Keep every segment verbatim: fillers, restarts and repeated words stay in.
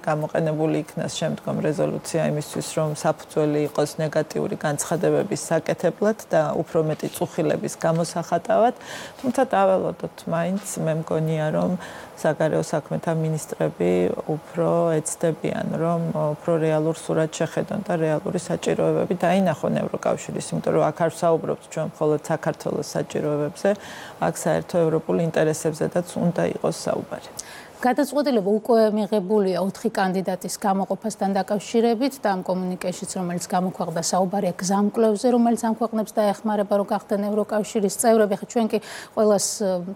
გამოყენებული იქნას შემდგომ რეზოლუცია იმისთვის, რომ საფუძველი იყოს ნეგატიური განცხადებების საკეთებლად და უფრო მეტი წუხილების გამოსახატავად, თუმცა დაველოდოთ მაინც მე მგონია, რომ საგარეო საქმეთა მინისტრები უფრო ეცდებიან, რომ უფრო რეალურ სურათს შეხედონ და რეალური საჭიროებები დაინახონ ევროკავშირის, იმიტომ რომ აქ არ ვსაუბრობთ ჩვენ მხოლოდ საქართველოს საჭიროებებზე, აქ საერთო ევროპულ ინტერესებზედაც უნდა იყოს საუბარი. გადაწყვეტილება უკვე მიღებულია ოთხი კანდიდატის გამოყოფასთან დაკავშირებით და ამ კომუნიკეშიც, რომელიც გამოქვეყნდა, საუბარია გზამკვლევზე, რომელიც ამ ქვეყნებს დაეხმარება, რომ გახდნენ ევროკავშირის წევრები. ხა ჩვენ კი ყველას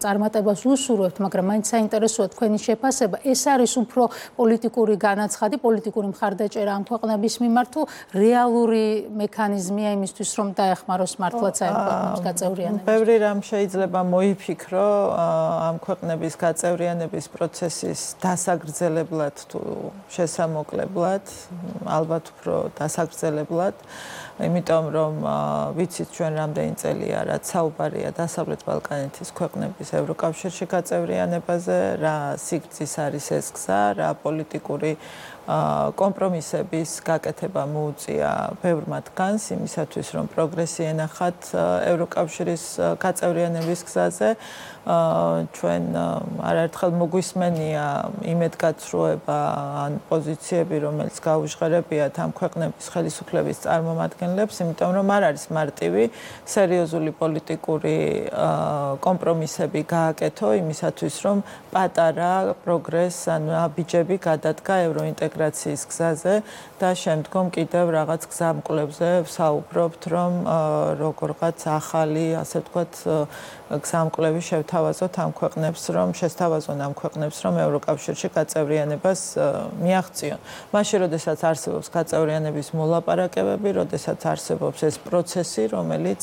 წარმატებას უსურვებთ, მაგრამ მაინც საინტერესოა თქვენი შეფასება. ეს არის უფრო პოლიტიკური განაცხადი, პოლიტიკური მხარდაჭერა ამ ქვეყნების მიმართ, თუ რეალური მექანიზმია იმისთვის, რომ დაეხმაროს მართლაც ამ ქვეყნებს გაწევრიანება? ბევრი რამ შეიძლება მოიფიქრო ამ ქვეყნების გაწევრიანების პროცესში დასაგრძელებლად თუ შესამოკლებლად, ალბათ უფრო დასაგრძელებლად, იმიტომ რომ ვიცით ჩვენ რამდენი წელია, რაც საუბარია დასავლეთ ბალკანეთის ქვეყნების ევროკავშირში გაწევრიანებაზე, რა სიგრძის არის ეს გზა, რა პოლიტიკური კომპრომისების გაკეთება მოუწია ბევრ მათგანს იმისათვის, რომ პროგრესი ენახათ ევროკავშირის გაწევრიანების გზაზე. ჩვენ არაერთხელ მოგვისმენია იმედგაცრუება ან პოზიციები, რომელიც გაუჟღერებიათ ამ ქვეყნების ხელისუფლების წარმომადგენლებს, იმიტომ რომ არ არის მარტივი სერიოზული პოლიტიკური კომპრომისები გააკეთო იმისათვის, რომ პატარა პროგრესს ან აბიჯები გადადგა ევროინტეგრაციის გზაზე და შემდგომ კიდევ რაღაც გზამკვლევზე ვსაუბრობთ, რომ როგორღაც ახალი, ასე ვთქვათ, გზამკვლევი შევთავაზოთ ამ ქვეყნებს, რომ შესთავაზონ ამ ქვეყნებს, რომ ევროკავშირში გაწევრიანებას მიაღწიონ. მაშინ, როდესაც არსებობს გაწევრიანების მოლაპარაკებები, როდესაც არსებობს ეს პროცესი, რომელიც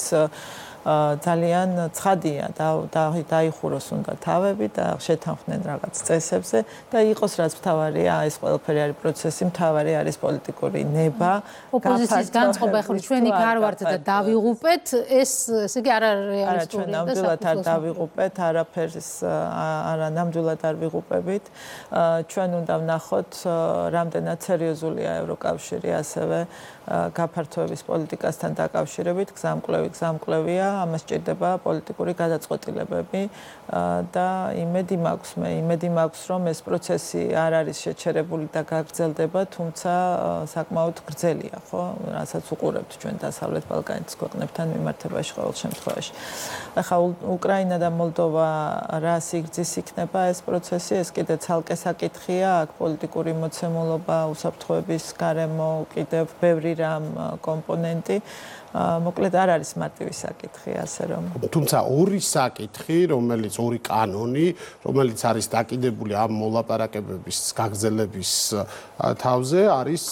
ძალიან ცხადია და დაიხუროს უნდა თავები და შეთანხმდნენ რაღაც წესებზე და იყოს რაც მთავარია, ეს ყველაფერი არის პროცესი, მთავარი არის პოლიტიკური ნება. ოპოზიციის განწყობა, ხო, ჩვენ იქ არ ვართ და დავიღუპეთ, ეს ესე იგი არ არის რეალისტური. ჩვენ ნამდვილად არ დავიღუპეთ, არაფერს არა ნამდვილად არ ვიღუპებით. ჩვენ უნდა ვნახოთ, რამდენად სერიოზულია ევროკავშირი, ასევე გაფართოების პოლიტიკასთან დაკავშირებით, გზამკვლევი გზამკვლევია, ამას სჭირდება პოლიტიკური გადაწყვეტილებები და იმედი მაქვს მე, იმედი მაქვს, რომ ეს პროცესი არ არის შეჩერებული და გაგრძელდება, თუმცა საკმაოდ გრძელია, ხო, რასაც უყურებთ ჩვენ დასავლეთ ბალკანეთის ქვეყნებთან მიმართებაში ყოველ შემთხვევაში. ახლა უკრაინა და მოლდოვა რა სიგრძის იქნება ეს პროცესი, ეს კიდე ცალკე საკითხია, აქ პოლიტიკური მოცემულობა, უსაფრთხოების გარემო, კიდევ ბევრი რამ კომპონენტი. მოკლედ არ არის მარტივი საკითხი, ასე რომ. თუმცა ორი საკითხი, რომელიც ორი კანონი, რომელიც არის დაკიდებული ამ მოლაპარაკებების გაგრძელების თავზე, არის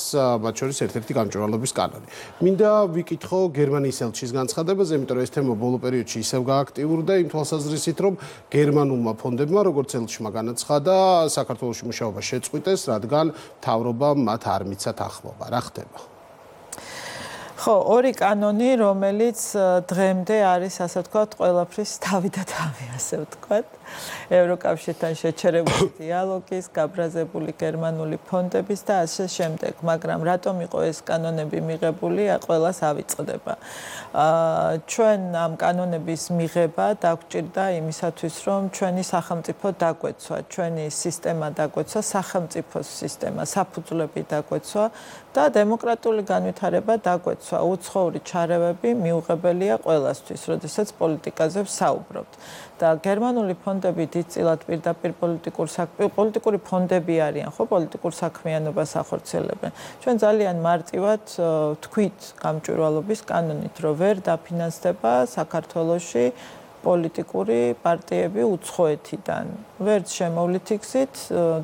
მათ შორის ერთ-ერთი გამჭვირვალობის კანონი. მინდა ვიკითხო გერმანიის ელჩის განცხადებაზე, იმიტომ რომ ეს თემა ბოლო პერიოდში ისევ გააქტიურდა იმ თვალსაზრისით, რომ გერმანულმა ფონდებმა, როგორც ელჩმა განაცხადა, საქართველოში მუშაობა შეწყვიტეს, რადგან მთავრობამ მათ არ მიცათ ახმობა. რა ხდება? ხო, ორი კანონი, რომელიც დღემდე არის, ასე ვთქვათ, ყველაფრის თავი და თავი, ასე ვთქვათ. ევროკავშირთან შეჩერებული დიალოგის, გაბრაზებული გერმანული ფონდების და ასე შემდეგ, მაგრამ რატომ იყო ეს კანონები მიღებული, ყველას ავიწყდება. ჩვენ ამ კანონების მიღება დაგვჭირდა იმისათვის, რომ ჩვენი სახელმწიფო დაგვეცვა, ჩვენი სისტემა დაგვეცვა, სახელმწიფოს სისტემა, საფუძვლები დაგვეცვა და დემოკრატიული განვითარება დაგვეცვა. უცხოური ჩარევები მიუღებელია ყველასთვის, როდესაც პოლიტიკაზე ვსაუბრობთ. და გერმანული ფონდები დიდწილად პირდაპირ პოლიტიკურ პოლიტიკური ფონდები არიან, ხო, პოლიტიკურ საქმიანობას ახორციელებენ. ჩვენ ძალიან მარტივად ვთქვით გამჭვირვალობის კანონით, რომ ვერ დაფინანსდება საქართველოში პოლიტიკური პარტიები უცხოეთიდან. ვერც შემოვლითი გზით,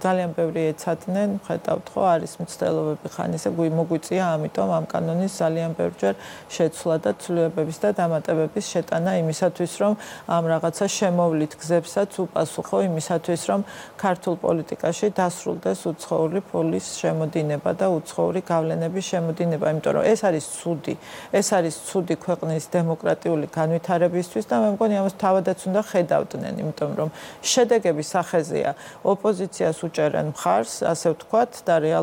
ძალიან ბევრი ეცადნენ, ხედავთ ხო, არის მცდელობები ხანისა, მოგვიწია, ამიტომ ამ კანონის ძალიან ბევრჯერ შეცვლა და ცვლილებების და დამატებების შეტანა იმისათვის, რომ ამ რაღაცა შემოვლით გზებსაც უპასუხო იმისათვის, რომ ქართულ პოლიტიკაში დასრულდეს უცხოური ფულის შემოდინება და უცხოური გავლენების შემოდინება, იმიტომ რომ ეს არის ცუდი, ეს არის ცუდი ქვეყნის დემოკრატიული განვითარებისთვის და მე მგონი ამას თავადაც უნდა ხედავდნენ, იმიტომ რომ შედეგების სახეზეა ოპოზიციას უჭერენ მხარს, ასე ვთქვათ, და რეალ